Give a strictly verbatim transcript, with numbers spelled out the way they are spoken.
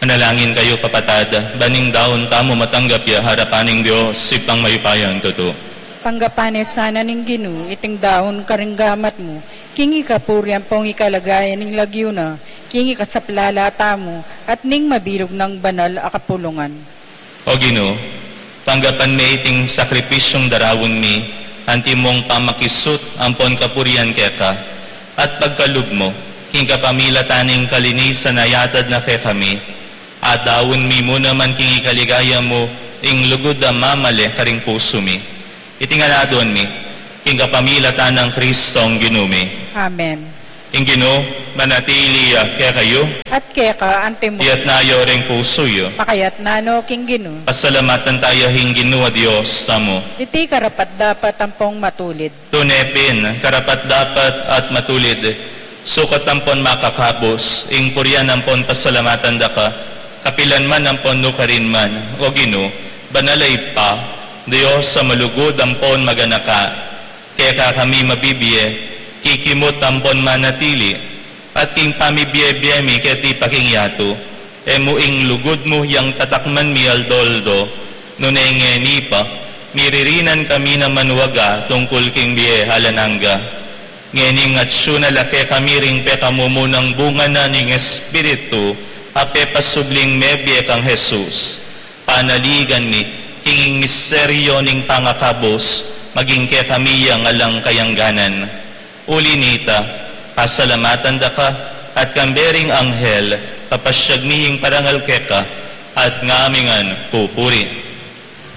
Manalangin kayu, kapatad, ban ing daun tamu matanggap ya harapan ning Dios, Ibpang mayupayang tutu. Tanggapan ne sana ning Ginu iting daun karing gamat mu, king ikapurian ampong ikaligayan ning lagyu na, king ikasaplala tamu, at ning mabilug nang banal a kapulungan. O Ginu, tanggapan me iting sakripisyung daraun mi, antimong pamakisut ampon kapurian keka, at pagkalub mu, king kapamilatan ning kalinisan a yatad na kekami, at daun mi mu naman king ikaligaya mu, ing lugud a mamale karing pusu mi. Iti ngan aduan mi, king kapamilatan nang Kristong Ginu mi. Amen. Ing Ginu manatili ya kekayu. At keka antimu. Iyatas yu ring pusu yu. Makayatas no king Ginu. Pasalamatan taya ing Ginu a Dios tamu. Iti karapat-dapat ampong matulid. Tune pin, karapat-dapat at matulid, sukat ampon makakabus, ing purian ampon pasalamatan daka, kapilan man ampon nukarin man, o Ginu, banal a Ibpa, Dios a malugud ampon maganaka. Keka kami mabibie, kikimut ampon manatili, at king pamibie-bie mi keti pa king yatu, e mu ing lugud mu yang tatakman mi aldo-aldo, nune ngeni pa, miririnan kami na manwaga tungkul king bie alang angga. Ngening atsu na la kekami ring pekamumunang bunga na ning Espiritu, a pepasubling mebie kang Jesus. Panaligan mi, king misteryo ning pangakabus, maging kekami yang alang kayangganan. Uli nita, pasalamatan daka, at kambe ring anghel, papasyag mi ing parangal keka, at ngamingan pupuri.